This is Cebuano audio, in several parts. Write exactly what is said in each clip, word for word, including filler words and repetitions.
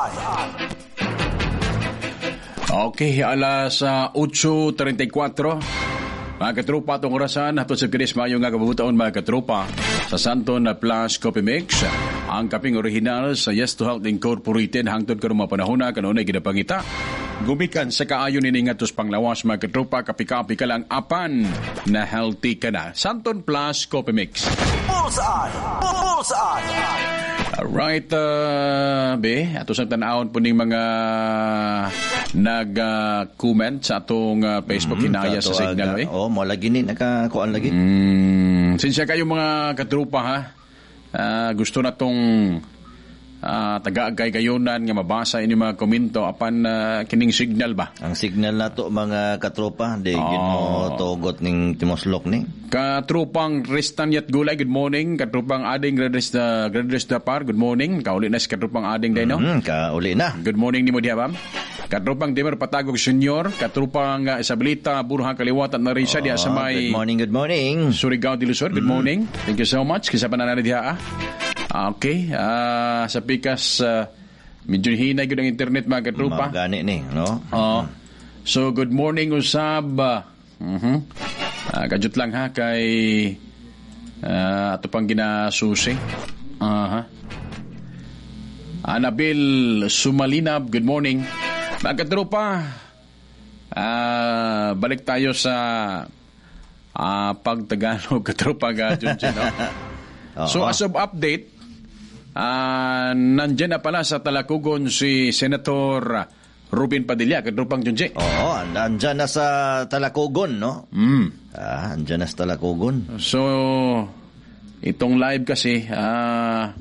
Bullseye. Okay, alas uh, eight thirty-four. Mga katropa, atong orasan, hatod sa Chris, mayo nga kabutaon, mga katropa, sa Santon na Plus Coffee Mix, ang kaping original sa Yes to Health Incorporated, hangtod karon mga panahon na kanunay ginapangita. Gumikan sa kaayo nini ngadto sa panglawas, mga katropa, kapi-kapi ka lang apan na healthy ka na. Santon Plus Coffee Mix. Bullseye. Bullseye. Alright, uh, be, ato sa tanawon po ning mga nag-comment sa atong uh, Facebook mm, hinaya sa Signal, eh. Oh, mo lagi ni nakakuan lagi. Mm, sinsya kayo, mga katropa, ha. Uh, gusto na tong uh, taga-agay gayunan nga mabasa ini mga komento apan uh, kining signal ba? Ang signal nato, mga katropa, di oh. Gid mo tugot ning timoslok ni. Katrupang Ristan Yat Gulay, good morning. Katrupang Ading Gradres da Gradres da Par, good morning. Kauli na si Katrupang Ading day, no? Mm, kauli na. Good morning nimo diha, bam. Katrupang Dimer Patagog Senior, Katrupang uh, Isabelita Burha Kaliwatan na rin siya diha sa may Good morning, good morning. Surigao del Sur, good mm. morning. Thank you so much. Kisa pa na diha ah. Okay, uh, sa pikas uh, medyo hinay gud ang internet, mga katropa. Gani ni, no? Oh. So good morning usab. Uh-huh. Uh, kajut lang ha kay uh, ato pang ginasusi. Aha. Uh-huh. Anabil Sumalinab, good morning. Mga katropa, uh, balik tayo sa uh, pagtagalog, katropa ga Junjun, no? So as of update, uh, nandyan na pala sa Talacogon si Senator Ruben Padilla, katropang Junji. Oo, nandyan na sa Talacogon, no? Mm. Ah, andyan na sa Talacogon. So, itong live kasi, ah,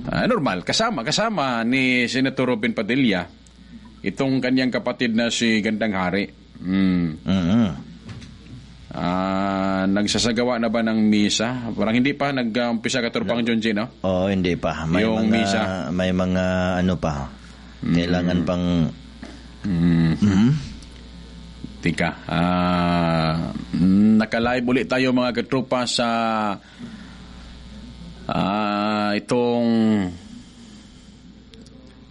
uh, normal, kasama, kasama ni Senator Ruben Padilla, itong kanyang kapatid na si Gandang Hari. Mm. Mm-hmm. Ah, nagsasagawa na ba ng misa? Parang hindi pa nag-umpisa, katropang no. Junji, no? Oo, oh, hindi pa. May yung mga, misa. May mga ano pa. Kailangan mm. pang mm. Mm-hmm. Tika. Ah, naka-live ulit tayo, mga katropa, sa ah, itong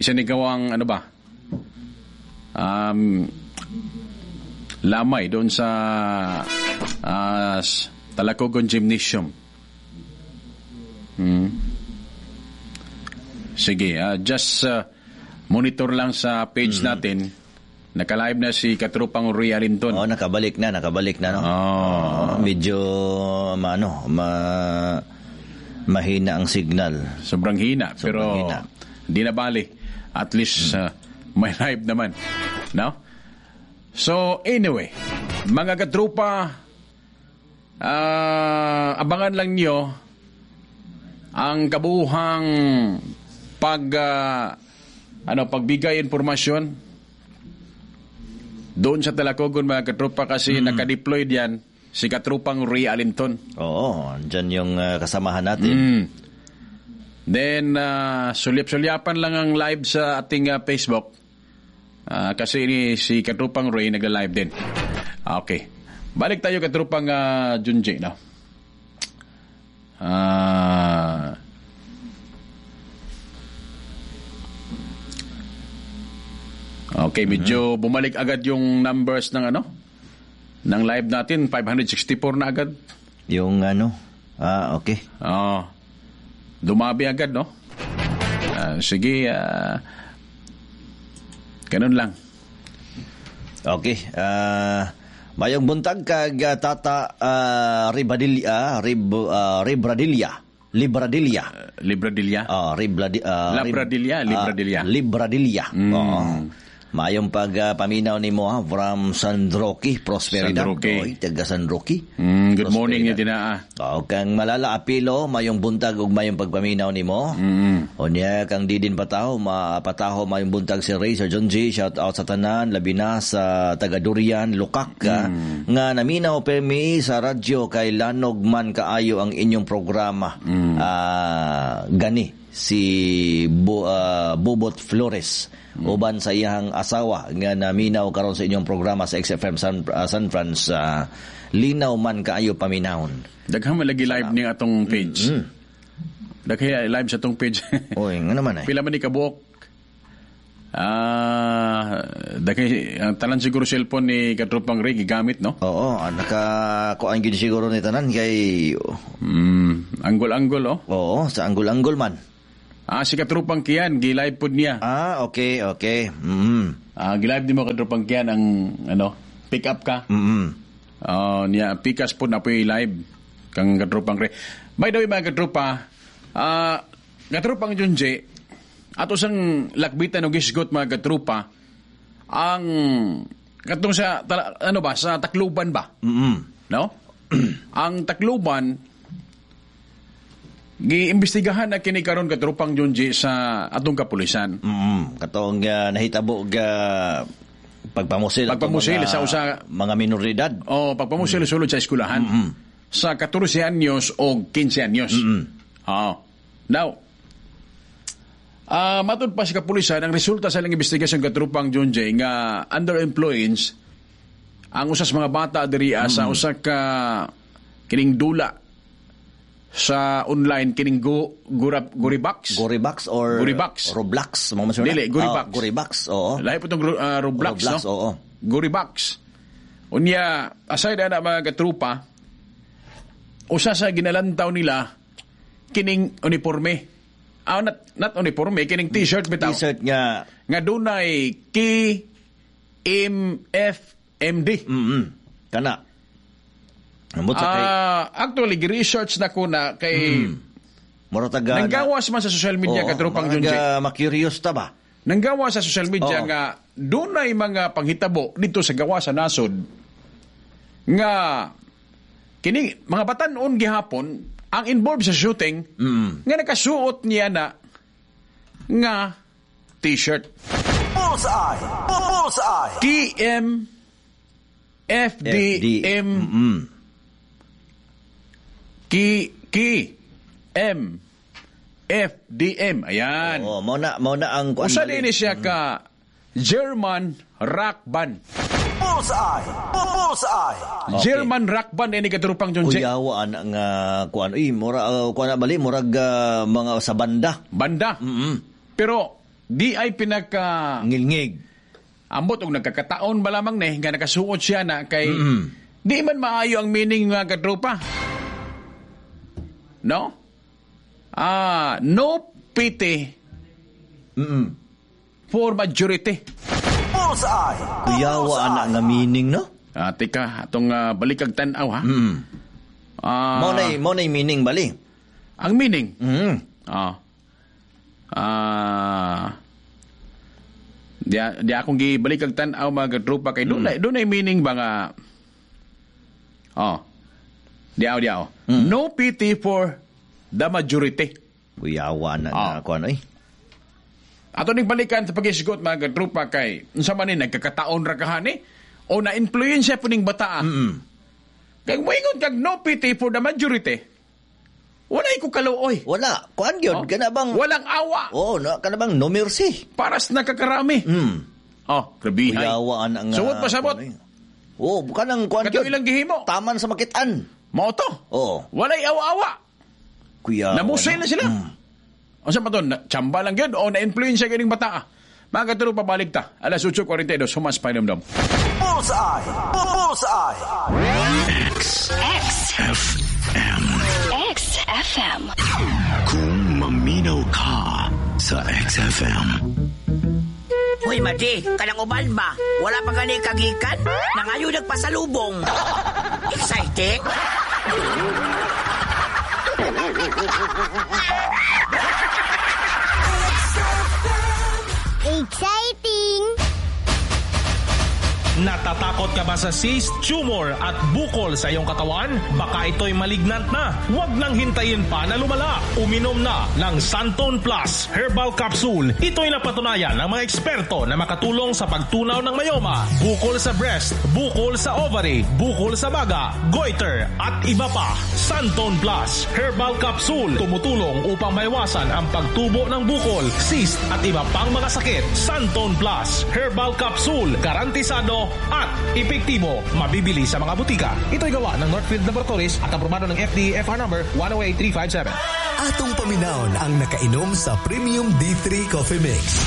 isinigawang ano ba? Um, lamay doon sa uh, Talacogon Gymnasium. Hmm. Sige, uh, just uh, monitor lang sa page mm-hmm. natin. Naka-live na si Katropang Ria Linton. Oh, nakabalik na, nakabalik na, no. Oh. Oh, medyo maano, ma mahina ang signal. Sobrang hina, Sobrang pero hina. Hindi na bali. At least uh, may live naman. No? So, anyway, mga katropa, uh, abangan lang nyo ang kabuuhang pag uh, ano, pagbigay impormasyon doon sa Talacogon, mga katropa, kasi mm. naka-deploy diyan si Katropang Ray Alinton. Oo, andyan yung uh, kasamahan natin. Mm. Then, uh, sulyap-sulyapan lang ang live sa ating uh, Facebook. Uh, kasi ni, si Katropang Ray nagla-live din. Okay. Balik tayo, Katropang uh, Junji, no? Ah... Okay, medyo mm-hmm. bumalik agad yung numbers ng ano? Ng live natin, five hundred sixty-four na agad. Yung ano? Ah, okay. Oo. Dumabi agad, no? Uh, sige, uh, ganun lang. Okay. Uh, mayong buntag kag uh, Tata uh, Ribadilla, Rib, uh, Ribradilla. Libradilla. Uh, Libradilla? Oh, Ribladi, uh, Labradilla, Libradilla. Uh, Libradilla. Mm. Oo. Mayong pag uh, paminaw ni mo ha, from San Roque, Prosperidad. San Roque. Oy, taga San Roque. Mm, good morning ni dinaa. O, kang Malala Apilo, mayong buntag ug mayong pagpaminaw nimo. Mm. O niya kang Didin Pataho, mapataho, mayong buntag si Ray, Sir John G, shout out sa tanan, labi na sa taga Durian, Lukak, mm. nga naminaw permi sa radyo kay lanog man kaayo ang inyong programa. Mm. Uh, gani si Bu, uh, Bubot Flores mm. uban sa iyang asawa nga naminaw karon sa inyong programa sa X F M San, uh, San Franz, uh, linaw man kaayo paminawon. Daghan man lagi live ni atong page. Mm. Daghay live sa tong page. Oy, nga naman eh. Pila man ni kabuok? Ah, daghay ang tanan siguro cellphone ni Katropang Ray gigamit, no? Oo, ah, naka kuan gyud siguro ni tanan kay Mm, anggol-anggol oh. Oo, sa anggol-anggol man. Ah, si Katropang Kian gi-live pod niya. Ah, okay, okay. Mm. Ah, gi-live nimo Katropang Kian ang ano, pick up ka. Mm. Oh, niya pikas pod na po'y live kang Katropang Ray. By the way mga katropa, ah, Katropang Junji, ato sang lakbitan og hisgot mga katropa, ang katong sa tala, ano ba sa Tacloban ba? Mm. No? ang Tacloban giimbestigahan na kini karon katropang Junji sa atong kapulisan. Mm. Katong uh, nahitabo ga pagpamusil atong Pagpamusil mga, sa usa- mga minoridad. O pagpamusil sulod sa eskwelahan sa katorse anyos o kinse anyos. Oo. Now, ah matud pa sa kapulisan ang resulta sa ilang investigasyon katropang Junji nga under influence ang usas mga bata diri ah, sa usa ka kining dula sa online kining go gurap Goribox. Goribox or Goribox. Roblox, mga masuna. Dili, Goribox. Ah, Goribox, oo. Lahi po itong uh, Roblox, Roblox, no? oo. Goribox. Unya, aside na mga katrupa, usa sa ginalantaw nila kining uniforme. Ah, not, not uniforme, kining t-shirt bitaw. T-shirt nga Nga dunay K M F M D. mm kana. Ambot sa kay Ah, actually gi-research na ko na kay mura taga nanggawas man sa social media Oo, katropang mga Junji. ma-curious ta ba? Nanggawa sa social media Oo. nga dunay mga panghitabo dito sa gawa sa nasod nga kini mga batan-on gihapon ang involved sa shooting Mm. nga nakasuot niya na nga t-shirt Bullseye! Bullseye! K M F D M Mm. K K M F D M ayan Oo, mao na mao na ang kuan usa bali. din ni siya ka German rock band Bullseye! Bullseye! Okay. German rock band ini katrupang Junji Kuyawa ana nga kuan uy mura uh, kuan na bali murag uh, mga sa banda. banda. Mm. Pero di ay pinaka Ngilngig. ambot og nagkakataon ba lamang ni nga nakasuot siya na kay Mm. di man maayo ang meaning mga katropa. No? Ah, no pity Mm. for majority. Bullseye! Kuyawa ana nga meaning no? Ah, tika, atong uh, balikag tan-aw ha. Mm. Ah, Mao na mao na meaning bali. ang meaning. Mm. Ah. Ah. Di, di akong gibalik ang tan-aw mga katropa kay dunay dunay meaning ba nga Oh. Diaw diaw. No pity for the majority. Kuyawa ana Ah. nga kuan oy. Ato ning balikan sa pag-isgot mga katropa kay unsa man ni nagkakataon ra kahani o na-influensya po ning bataa. Mm. Kay moingon kag no pity for the majority. Walay ko kaluoy. Wala, kuan gyud Oh. kana bang Walang awa. Oh, no, kana bang no mercy. Paras nakakarami. Mm. Oh, grabe. Kuyawa ana nga. Suot pa sabot. kuan, oy. Oh, kanang kuan Katong gyud. ilang gihimo. Taman sa makitaan. Mao to. Oo. Walay awa-awa. Kuyawa. Namusay na sila. Mm. Unsa pa to? Na- Tsamba lang yun o na-influensya kining bata. Mga katuro pabalik ta. Alas otso kwarenta y dos, humas painumdum. Bullseye! Bullseye! X F M. X F M. Kung maminaw ka sa X F M. Uy, Madi, kanang uban ba? Wala pa gani kagikan? Nangayo nagpasalubong. Exciting? Exciting! Natatakot ka ba sa cyst, tumor at bukol sa iyong katawan? Baka ito'y malignant na. Huwag nang hintayin pa na lumala. Uminom na ng Santon Plus Herbal Capsule. Ito'y napatunayan ng mga eksperto na makatulong sa pagtunaw ng myoma, bukol sa breast, bukol sa ovary, bukol sa baga, goiter at iba pa. Santon Plus Herbal Capsule tumutulong upang maiwasan ang pagtubo ng bukol, cyst at iba pang mga sakit. Santon Plus Herbal Capsule, garantisado at epektibo. Mabibili sa mga butika. Ito'y gawa ng Northfield Laboratories at aprobado ng F D A F R number one oh eight three five seven. Atong paminawon ang nakainom sa Premium D three Coffee Mix.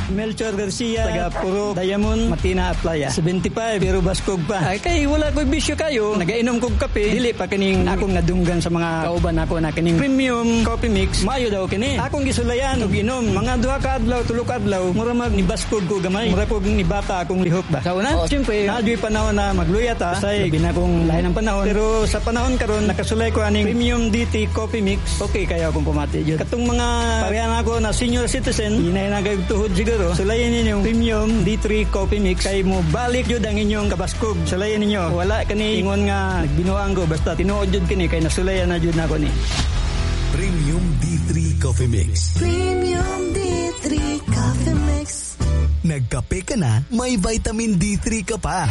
Melchor Garcia, taga Puro, Diamond, Matina, Aplaya. seventy-five, pero baskog pa. Ay, kay wala ko'y bisyo kayo. Nagainom kog kape. Dili pa kining akong nadunggan sa mga kauban nako na kining Premium Coffee Mix. Mayo daw kini. Akong gisulayan og inom. Mga duha ka adlaw, tulo ka adlaw, mura mag nibaskog ko gamay. Mura kog nibata akong lihok ba. Sa una, oh, siyempre, naa juy panahon na magluya ta. Say, labi na kung lahi ng panahon. Pero sa panahon karon nakasulay ko aning Premium D T Coffee Mix. Okay kayo akong pamati jud. Katong mga parehan ako na senior citizen, hinay na kayo tuhod siguro. Sulayan ninyo Premium D three Coffee Mix kay mo balik jud ang inyong kabaskog. Sulayan ninyo. Wala kani ingon nga nagbinuang ko, basta tinuod jud kini kay nasulayan na jud nako ni. Premium D three Coffee Mix. Premium D three Coffee Mix. Nagkape ka na, may vitamin D three ka pa.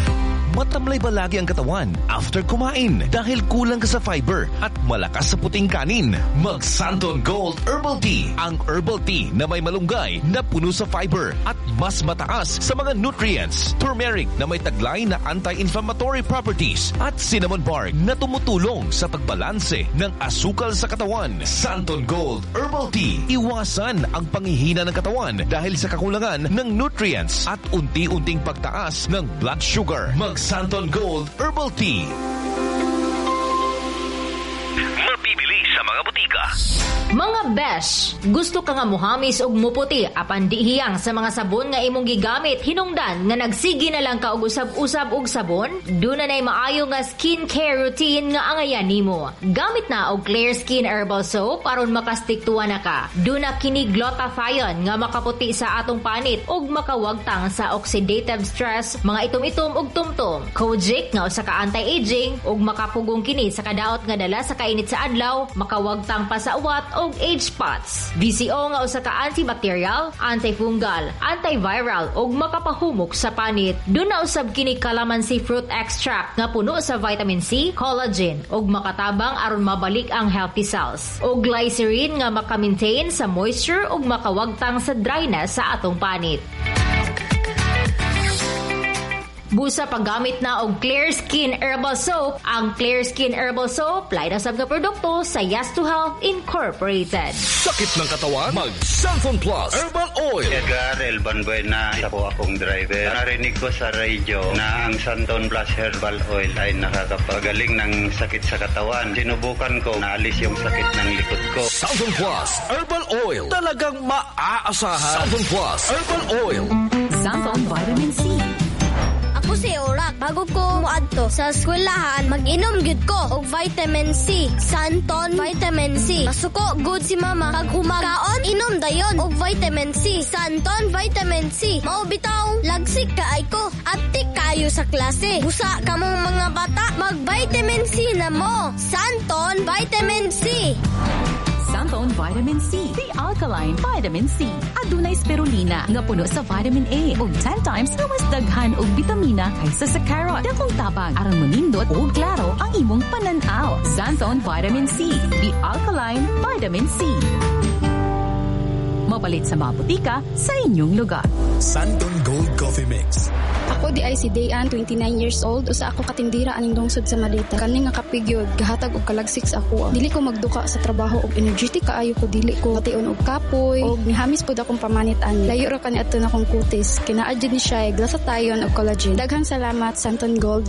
Matamlay ba lagi ang katawan after kumain dahil kulang ka sa fiber at malakas sa puting kanin? Mag Santon Gold Herbal Tea, ang herbal tea na may malunggay na puno sa fiber at mas mataas sa mga nutrients. Turmeric na may taglay na anti-inflammatory properties at cinnamon bark na tumutulong sa pagbalanse ng asukal sa katawan. Santon Gold Herbal Tea. Iwasan ang panghihina ng katawan dahil sa kakulangan ng nutrients at unti-unting pagtaas ng blood sugar. Mag Santon Gold Herbal Tea. Mabibili sa mga botika. Mga besh, gusto ka nga muhamis og muputi apan di hiyang sa mga sabon nga imong gigamit hinungdan nga nagsige na lang ka og usab-usab og sabon? Duna nay maayo nga skin care routine nga angayan nimo. Gamit na og Clear Skin Herbal Soap aron makastiktuwa na ka. Duna kini glutathione nga makaputi sa atong panit ug makawagtang sa oxidative stress, mga itom-itom ug tumtum. Kojic nga usa ka anti-aging ug makapugong kini sa kadaot nga dala sa kainit sa adlaw, makawagtang pa sa uwat ug age spots. V C O nga usa ka antibacterial, antifungal, antiviral ug makapahumok sa panit. Duna usab kini calamansi fruit extract nga puno sa vitamin C, collagen ug makatabang aron mabalik ang healthy cells. Ug glycerin nga maka-maintain sa moisture ug makawagtang sa dryness sa atong panit. Busa paggamit na og Clear Skin Herbal Soap, ang Clear Skin Herbal Soap, lain na sab nga produkto sa Yes to Health Incorporated. Sakit ng katawan? Mag Xanthone Plus Herbal Oil. Edgar El Banbuena, isa po akong driver. Narinig ko sa radio na ang Xanthone Plus Herbal Oil ay nakakapagaling ng sakit sa katawan. Sinubukan ko, naalis yung sakit ng likod ko. Xanthone Plus Herbal Oil. Talagang maaasahan. Xanthone Plus Herbal Oil. Xanthone Vitamin C. Ako si Orak. Bago ko moadto sa eskwelahan, mag-inom gyud ko og vitamin C. Santon Vitamin C. Masuko gud si Mama. Pag humakaon, inom dayon og vitamin C. Santon Vitamin C. Mao bitaw, lagsik kaay ko. Atik kayo sa klase. Busa kamong mga bata, mag-vitamin C na mo. Santon Vitamin C. Xanthone Vitamin C, the alkaline vitamin C. Adunay spirulina nga puno sa vitamin A ug ten times nga mas daghan og bitamina kaysa sa carrot. Dakong tabang aron monindot ug klaro ang imong panan-aw. Xanthone Vitamin C, the alkaline vitamin C. Mapalit sa mga botika sa inyong lugar. Santon Gold Coffee Mix. Ako diay si Dayan, twenty-nine years old, usa ako katindira aning lungsod sa Malita. Kani nga kape gyud gahatag og kalagsik sa ako. Dili ko magduka sa trabaho og energetic kaayo ko, dili ko bation og kapoy og nihamis pud akong pamanit ani. Layo ra kani adto na akong kutis. Kay naa jud ni siya glutathione og collagen. Daghang salamat, Santon Gold.